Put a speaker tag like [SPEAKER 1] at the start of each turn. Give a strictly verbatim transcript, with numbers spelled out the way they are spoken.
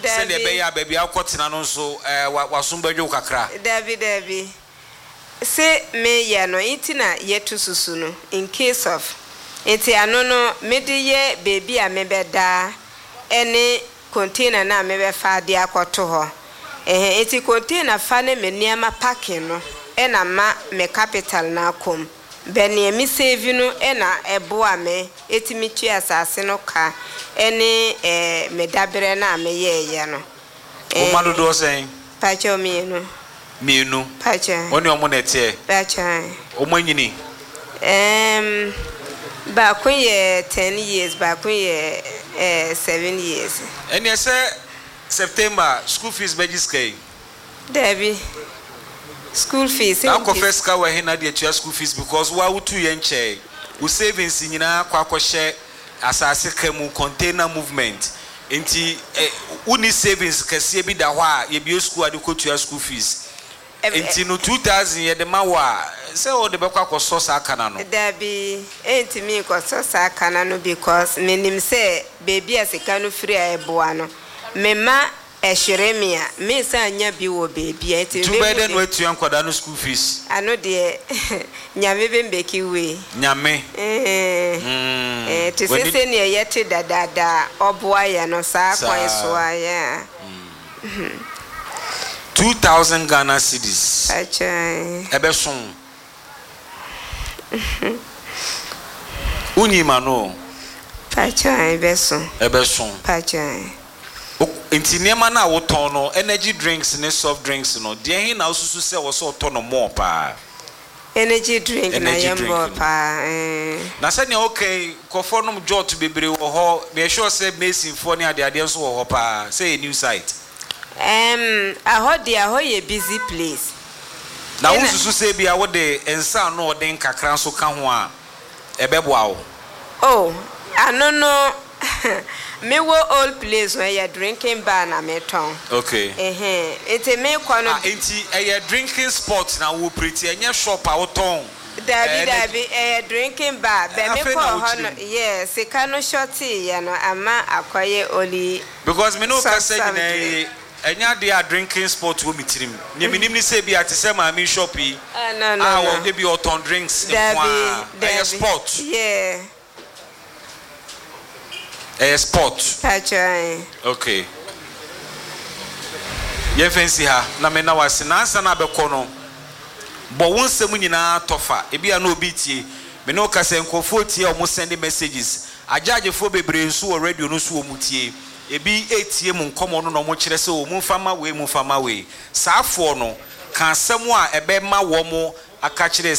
[SPEAKER 1] Sɛdeɛ ɛbɛyɛ a baabi a wokɔtena no nso ɛɛ wasom bɛdwo wo kakra.
[SPEAKER 2] Dabi, dabi. Se meyɛ no nti na yɛtu susu no in case of, nti ano no mede yɛ beebi a mebɛdaa ɛne container no a mebɛfa de akɔto hɔ. Ɛhɛn, nti container fa ne me nneɛma packing no ɛna ma me capital no akɔm. Bɛ nea me save no ɛna ɛboa me etimi tua asase no ka ɛne ɛɛ me dabrɛ no a meyɛɛyɛ no.
[SPEAKER 1] Wo mma dodoɔ sɛn?
[SPEAKER 2] Pakyɛw, mmienu.
[SPEAKER 1] Mmienu?
[SPEAKER 2] Pakyɛw.
[SPEAKER 1] Wɔn ne ɔmo na ɛteɛ?
[SPEAKER 2] Pakyɛw.
[SPEAKER 1] Ɔmo anyini?
[SPEAKER 2] Um, baako yɛ ten years, baako yɛ uh, seven years.
[SPEAKER 1] Ɛneɛ sɛ September school fees bɛgye sika yi?
[SPEAKER 2] Dabi, school fees.
[SPEAKER 1] Na akɔfɛ sika wɔ he na de atua school fees? Because wo a wotu yɛ nkyɛn, wo savings nyinaa kɔ akɔhyɛ asase ka mu, container movement, nti eh, wonni savings kɛseɛ bi da hɔ a yɛbie school a de kɔtua school fees. Nti no two thousand yɛde ma wo a, sɛ wode bɛkɔ akɔsɔ saa kana no?
[SPEAKER 2] Dabi, ɛntumi nkɔsɔ saa kana no because menim sɛ beebi a sika no firi a ɛboa no, mema ɛhwere me a, mensan nya bi wɔ beebi a nti
[SPEAKER 1] nti wobɛyɛ dɛ na watua nkwadaa no school fees?
[SPEAKER 2] Ano deɛ, Nyame bɛmbɛki wei.
[SPEAKER 1] Nyame.
[SPEAKER 2] Mm. Eh, te sɛ sɛnea yɛte dadaada a ɔboa yɛ no saa kwan so a yɛ.
[SPEAKER 1] Two thousand Ghana cedis.
[SPEAKER 2] Akyɛn.
[SPEAKER 1] Ɛbɛso wonyi ma no o.
[SPEAKER 2] Pakyɛn, ɛbɛso.
[SPEAKER 1] Ɛbɛso.
[SPEAKER 2] Pakyɛn.
[SPEAKER 1] Nti nneɛma no a wotɔn no, energy drinks ne soft drinks no deɛ, he na wosusu sɛ wɔ sɛ ɔtɔ no more paa?
[SPEAKER 2] Energy drink na
[SPEAKER 1] Energy
[SPEAKER 2] yɛ
[SPEAKER 1] drink
[SPEAKER 2] mbɔ
[SPEAKER 1] no.
[SPEAKER 2] Paa eh.
[SPEAKER 1] Na sɛnea woka nkurɔfoɔ nom jot bebree wɔ hɔ, meyɛ sure sɛ masonfoɔ ne adeadeɛ nso wɔ hɔ paa sɛ yɛ new site.
[SPEAKER 2] Um, ahɔ deɛ, ahɔ yɛ busy place.
[SPEAKER 1] Na
[SPEAKER 2] Ɛna-
[SPEAKER 1] wosusu sɛ bia wode nsa ano ɔden kakra nso ka ho a, ɛbɛboa wo?
[SPEAKER 2] Oh, ano no mewɔ old place hɔ, yɛ drinking bar na metɔn.
[SPEAKER 1] Okay.
[SPEAKER 2] Ɛhɛn, nti mekɔ no
[SPEAKER 1] Ah, nti ɛyɛ drinking spot na wo operate, ɛnyɛ shop a wotɔn?
[SPEAKER 2] Dabi.
[SPEAKER 1] Eh,
[SPEAKER 2] Dabi, ɛyɛ drinking bar bɛ
[SPEAKER 1] Afei
[SPEAKER 2] mekɔɔ
[SPEAKER 1] na
[SPEAKER 2] hɔ no
[SPEAKER 1] wokyerɛ mu.
[SPEAKER 2] yɛ sika no shɔteeɛ no ama akɔyɛ only
[SPEAKER 1] Because me ne wo kasa
[SPEAKER 2] soft
[SPEAKER 1] nyinaa
[SPEAKER 2] drink.
[SPEAKER 1] yi, ɛnyɛ adeɛ a drinking spot wɔ me tirim. Nea menim ne sɛ bi a te sɛ maame shop yi
[SPEAKER 2] Ah, no, no,
[SPEAKER 1] a
[SPEAKER 2] no.
[SPEAKER 1] wɔ ebi ɔtɔn drinks nko
[SPEAKER 2] Dabi.
[SPEAKER 1] a ɛyɛ
[SPEAKER 2] Dabi.
[SPEAKER 1] sport.
[SPEAKER 2] Yeah.
[SPEAKER 1] Ɛyɛ sport.
[SPEAKER 2] Pakyɛn.
[SPEAKER 1] Okay, yɛmfa nsi ha na mena wase. Nansa na abɛkɔ no, bɔ wo nsɛm nyinaa tɔfa. Ebi a na obi tie me ne wo kasa, nkurɔfoɔ tie a wɔn send messages, agyagyefoɔ bebree nso wɔ radio no so wɔ mu tie, ebi etie mu nkɔmɔ no na wɔn kyerɛ sɛ wɔn mfa ma wei, mu mfa ma wei. Saa afoɔ no ka asɛm a ɛbɛma wɔn aka kyerɛ.